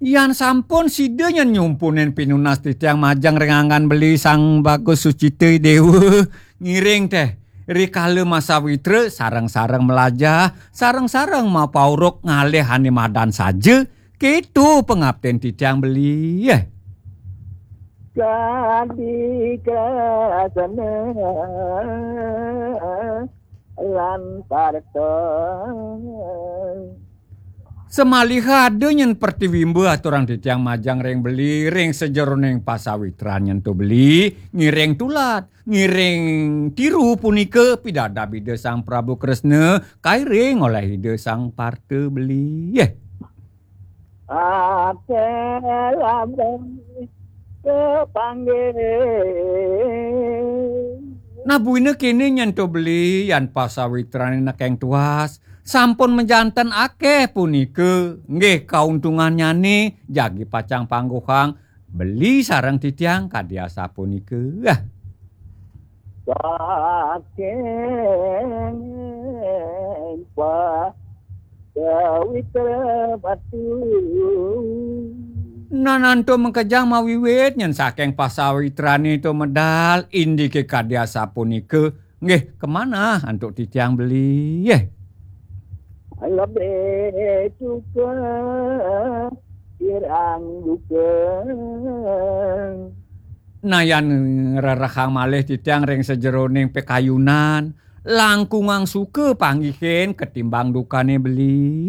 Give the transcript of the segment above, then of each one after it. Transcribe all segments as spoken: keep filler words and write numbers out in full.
Yan sampun sida nyen nyumpunin pinunas titiang majeng ring anggan beli Sang Bagus Sucita Dewa. Ngiring teh, rikala masawitra sareng-sareng melajah, sareng-sareng mapauruk ngalih ane madan saja, keto pangaptin titiang beli. Kadi krasana lan parta. Samaliha ada nyen pertiwimba aturang titiang majeng ring beli, ring sajeroning pasawitran nyen to beli, ngiring tulad, ngiring tiru punika pidabdab Ida Sang Prabu Kresna, kairing olih Ida Sang Parta beli. Ate lamrang kapanggih. Nah, buina kene nyen to beli, yan pasawitrane nekeng tuas, sampun majanten akeh punika, nggih, kauntungannyane jagi pacang pangguhang beli sareng titiang kadi asapunika. Saking pa-, pawitra batu. Nanantu makejang mawiwit nyen saking pasawitrane to medal, indike kadi asapunika, nggih, kamanah antuk titiang beli, nggih. Lebih suka kirang duka. Nah, yan ngrerehang malih titiang ring sajeroning pikayunan, langkungang suka panggihin ketimbang dukane beli.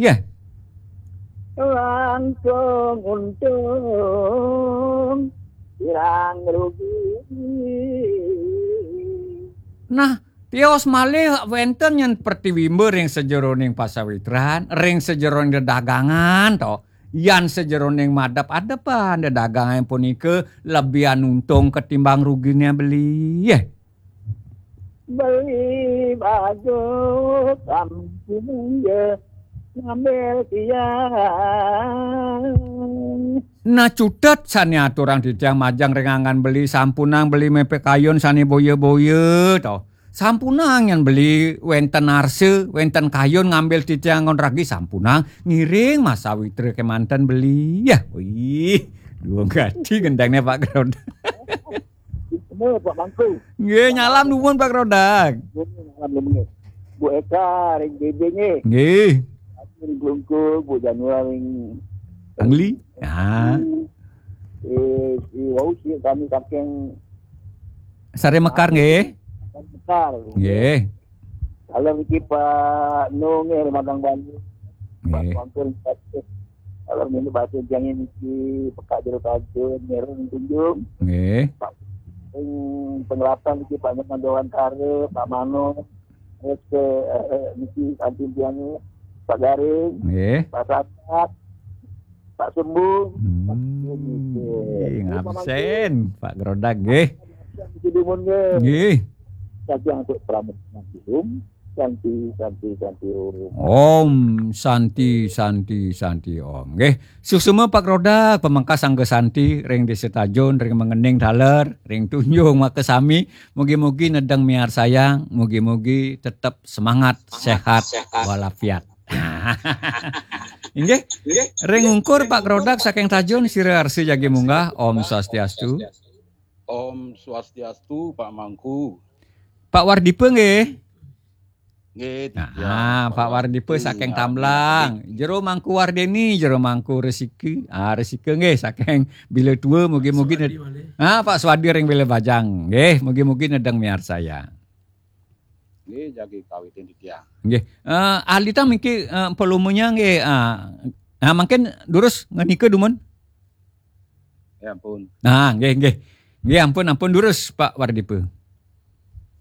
Langkung untung, kirang rugi. Nah, tios malih wenten nyen pratiwimba ring sajeroning pasawitran, ring sajeroning dedagangan, to. Yan sajeroning madep-adepan, dedagangan punika lebihan untung ketimbang rugine beli. Beli baju sampun ya ngambil tiang. Nah, cutet sane aturang titiang majeng ring anggan beli, sampunang beli mepek kayun sane boya-boya, to. Sampunang yan beli wenten arsa, wenten kayun ngambil titiang ngon ragi, sampunang ngiring masawitra kemanten beli. Ya, wih, dua gati gendangnya Pak Grodang. Ini Pak Mangku. Nggih, nyalam nuwun Pak Grodang. Nggih, nyalam nuwun. Bu Eka ring B B nggih. Nggih. Ring Klungkung, Bu Januar ring Angli. Ah. Eh, si wau si kami saking Sare Mekar nggih. Mekar. Nggih. Kalau niki Pak Nu nggih, Remadang Bali. Pak Nggih. Tuanku ring Tasik. Kalau niki bahasa Jangnya niki Pekak Jero Tajun, Meru ring Tunjung. Nggih. Pak ring Penggelapan niki Pak Nyoman Dewantara, Pak Mano. Terus ke, eh, eh, niki kantin tiangnya Pak Garing, Nggih. Pak Sadat, Pak Sembung, Pak Sembung, nggih. Hmm, Pak Mangku. Ngabsen, Pak Grodang, nggih. Niki dumun, nggih. Nggih. Saking antuk pramod nanti, Om. Santi, santi, santi, Om. Om Santi, Santi, Santi, Om. Nggih. Suksma Pak Grodang, pamekasang Santi, ring Desa Tajun, ring Mengening taler, ring Tunjung makasami. Mugi-mugi nedeng miarsayang, mugi-mugi tetep semangat, sehat, walafiat. Inggih, ring ungkur Pak Grodang saking Tajun, sira arsa jagi munggah. Om Swastiastu. Om Swastiastu, Pak Mangku. Pak Wardipa nggih. Nggih, Nah, titiang Pak Wardipa saking Tamblang. Jero Mangku Wardeni, Jero Mangku Resiki. Ah, Resika nggih saking Bila Tua, mugi-mugi ned- Swadi malih. Ah, Pak Swadi ring Bila Bajang. Nggih, mugi-mugi nedeng miarsayang. Nggih, jagi kawitin titiang. Nggih. Eh, alita miki, eh, volumenya nggih, ah. Nah, mungkin durus ngenika dumun. Ya ampun. Nah, nggih, nggih. Nggih, ampun, ampun durus, Pak Wardipa.